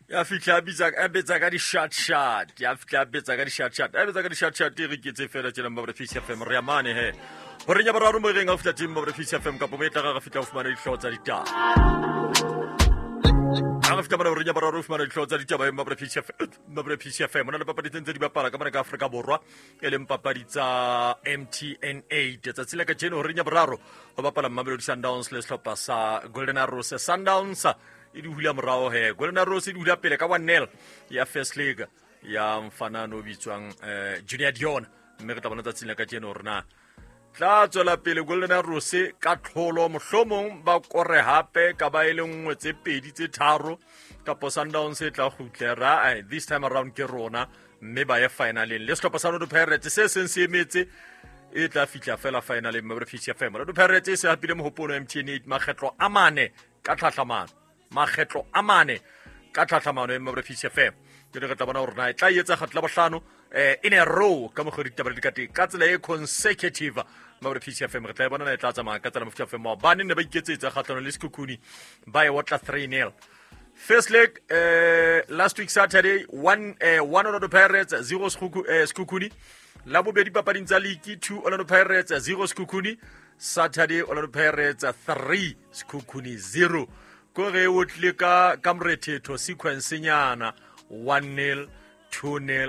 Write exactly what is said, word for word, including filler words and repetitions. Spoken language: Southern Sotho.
Ya fihla a bitsa a betsa ka di-short shot, ya fihla a betsa ka di-short shot, a betsa ka di-short shot. E re ketse fela tjena Mmabre Fish F M, re ya mane he horeng ya boraro mo reng ha o fihla teng Mmabre Fish F M, kapo mo e tla re fihla ho fumana dihlooho tsa ditaba. Ha re fihla mona horeng ya boraro ho fumana dihlooho tsa ditaba e Mmabre Fish F M, Mmabre Fish F M ho na le papadi tse ntse di bapala ka mona ka Afrika Borwa, e leng papadi tsa M T N eight. Tsatsi la kajeno horeng ya boraro ho bapala Mamelodi Sundowns le sehlopha sa Golden Arrows. Sundowns e di hula morao he, Golden Arrows e di hula pele ka one nil ya first leg ya mfanano o bitswang eh, Junior Dion. Mme re tla bona tsatsing la kajeno hore na tla tswela pele Golden Arrows ka tlholo, mohlomong ba kore hape ka ba e le nngwe, tse pedi, tse tharo, kapo Sundowns e tla kgutlera eh, this time around ke rona, mme ba ye finaleng le sehlopha sa Orlando Pirates se seng se emetse e tla fihla fela finaleng. Mmabre Fish F M, Orlando Pirates e se hapile mohopolo M T N eight makgetlo a mane ka tlhahlamano, makgetlo a mane ka tlhahlamano e Mmabre Fish F M. Jwale re tla bona hore na e tla etsa kgetlo la bohlano eh in a row ka mokgwa ditaba di ka teng ka tsela e consecutive. Mmabre Fish F M, re tla e bona na e tla tsamaya ka tsela mofuta F M. Maobane ne ba iketsetsa kgatlhanong le Sekhukhune, ba e otla three nil. First leg uh, last week Saturday, one uh, one Orlando Pirates, zero Sekhuku- eh, Sekhukhune. La bobedi papading tsa league, two Orlando Pirates, zero Sekhukhune. Saturday, Orlando Pirates three, Sekhukhune zero. Ko re o tlile ka ka morethetho sequence nyana, one nil, two nil.